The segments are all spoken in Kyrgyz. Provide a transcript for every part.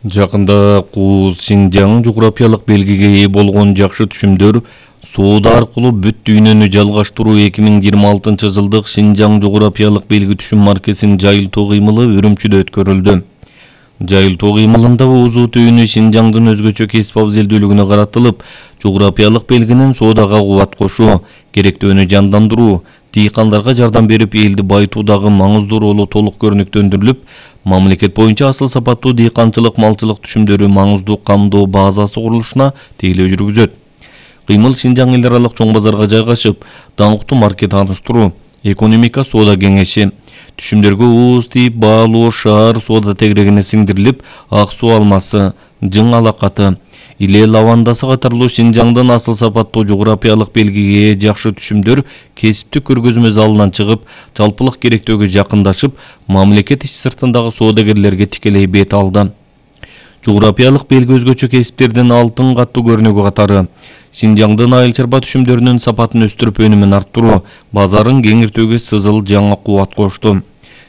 Жакында Кууз Шинжаң жуграпиялык белгиге ээ болгон жакшы түшүмдөр соода аркылуу бүт дүйнөнү жалгаштыруу 2026 жылдык Шинжаң жуграпиялык белги түшүм маркесинин жайылтуу кыймылы Үрүмчүдө өткөрүлдү. Жайылтуу кыймылында узуу түйүнү Шинжаңдын өзгөчө кесип абзелдүүлүгүнө каратылып, жуграпиялык белгинин соодага кубат кошуу, керектөөнү жандандыруу, дыйкандарга жардам берип элди байытуудагы маңыздуу ролу толук көрүнүктөндүрүлүп, мамлекет боюнча асыл сапаттуу дыйканчылык малчылык түшүмдөрү маңыздуу камдоо базасы курулушуна тейлөө жүргүзөт. Кыймыл Шинжаң эл аралык чоң базарга жайгашып, даңктуу маркет тааныштыруу, экономика соода кеңеши, түшүмдөргө ууз тийип баалоо шаар соода тегерегине сиңдирилип, ак суу алмасы, жың алакаты, иле лавандасы катарлуу Шинжаңдын асыл сапаттуу жуграпиялык белгиге жакшы түшүмдөр кесиптик көргөзмө залынан чыгып, жалпылык керектөөгө жакындашып, мамлекет ич сыртындагы соодагерлерге тикелей бет алды. Жуграпиялык белги өзгөчө кесиптердин алтын каттуу көрүнүгү катары Шинжаңдын айыл чарба түшүмдөрүнүн сапатын өстүрүп өнүмүн арттыруу, базарын кеңиртүүгө сызыл жаңы кубат кошту.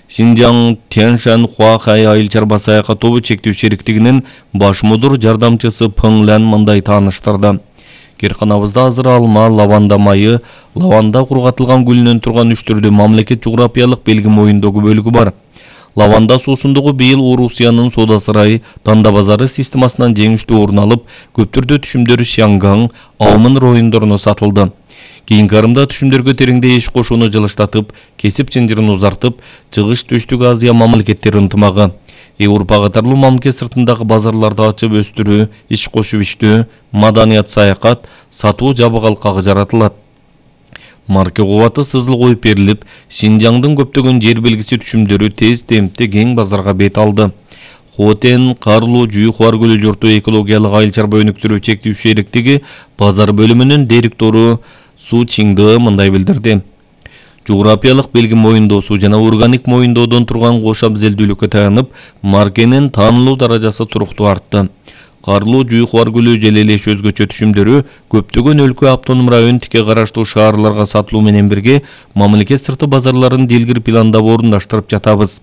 Шинжаң Тяньшань Хуахай айыл чарба саякат тобу чектүү шериктигинин баш мудур жардамчысы Пыңлян мындай тааныштырды. Керканабызда азыр алма, лаванда майы, лаванда кургатылган гүлүнөн турган үч түрдүү мамлекет жуграпиялык белги моюндогу бөлүгү бар. Лаванда суусундугу быйыл Орусиянын соода сарайы Танда базары системасынан жеңиштүү орун алып, көптөрдө түшүмдөр Шаңгаң, Аумын райондоруна сатылды. Кийинки арымда түшүмдөргө тереңдей иш кошууну жылыштатып, кесип чынжырын узартып, чыгыш Түштүк Азия мамлекеттери ынтымагы, Европа катарлуу мамлекет сыртындагы базарларды ачып өстүрүү, иш кошуп иштөө, маданият саякат, сатуу жабыгалкагы жаратылат. Марке кубаты сызыл коюп берилип, Шинжаңдын көптөгөн жер белгиси түшүмдөрү тез темпте кең базарга бет алды. Хотен, Карлуу, Жүйхуар көлү жорту экологиялык айыл чарба өнүктүрүү чектүү шериктиги базар бөлүмүнүн директору Су Чинды мындай билдирди. Жуграпиялык белги моюндоосу жана органик моюндоодон турган кош абзелдүүлүккө таянып, маркенин таанылуу даражасы туруктуу артты. Карлуу, Жүйхуар көлү же эле өзгөчө түшүмдөрү көптөгөн өлкө автоном район тике караштуу шаарларга сатылуу менен бирге мамлекет сырты базарларын дилгир пландап орундаштырып жатабыз.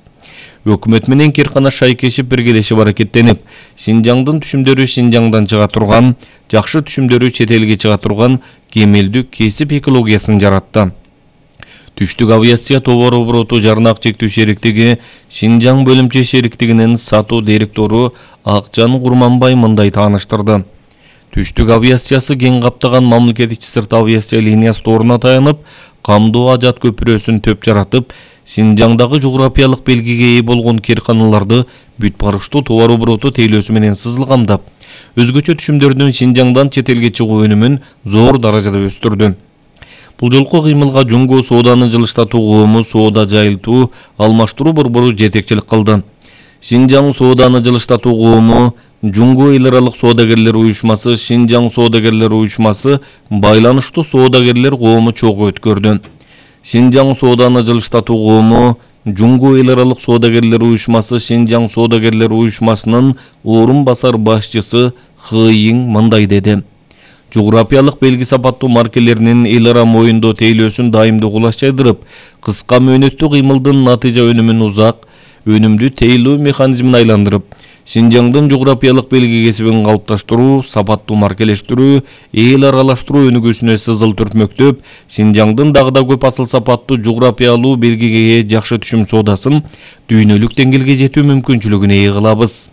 Өкмөт менен Керкана шайкешип биргелешип аракеттенип, Шинжаңдын түшүмдөрү Шинжаңдан чыга турган, жакшы түшүмдөрү чет элге чыга турган кемелдүү кесип экологиясын жаратты. Түштүк авиация товар обороту жарнак чектүү шериктиги Шинжаң бөлүмчө шериктигинин сатуу директору Акжан Курманбай мындай тааныштырды. Түштүк авиациясы кең каптаган мамлекет ичи сырт авиация линиясы торуна таянып, камдоо ажат көпүрөсүн төп жаратып, Шинжаңдагы жуграпиялык белгиге ээ болгон керканаларды бүт барыштуу товар обороту тейлөөсү менен сызыл камдап, өзгөчө түшүмдөрдүн Шинжаңдан чет элге чыгуу өнүмүн зор даражада өстүрдү. Бул жолку кыймылга Жуңго сооданы жылыштатуу коому соода жайылтуу, алмаштыруу борбору жетекчилик кылды. Шинжаң сооданы жылыштатуу коому, Жуңго эл аралык соодагерлер уюшмасы, Шинжаң соодагерлер уюшмасы байланыштуу соодагерлер коому чогуу өткөрдү. Шинжаң сооданы жылыштатуу коому, Жуңго эл аралык соодагерлер уюшмасы, Шинжаң соодагерлер уюшмасынын орун басар башчысы Хыйың мындай деди. Жуграпиялык белги сапаттуу маркелеринин эл ара моюндоо тейлөөсүн дайымдуу кулаш жайдырып, кыска мөөнөттүү кыймылдын натыйжа өнүмүн узак, өнүмдүү тейлөө механизмин айландырып, Шинжаңдын жуграпиялык белги кесибин калыпташтыруу, сапаттуу маркелештирүү, эл аралаштыруу өнүгүүсүнө сызыл түртмөктөп, Шинжаңдын дагы да көп асыл сапаттуу жуграпиялуу белгиге жакшы түшүм соодасын дүйнөлүк деңгээлге жетүү мүмкүнчүлүгүн ээ кылабыз.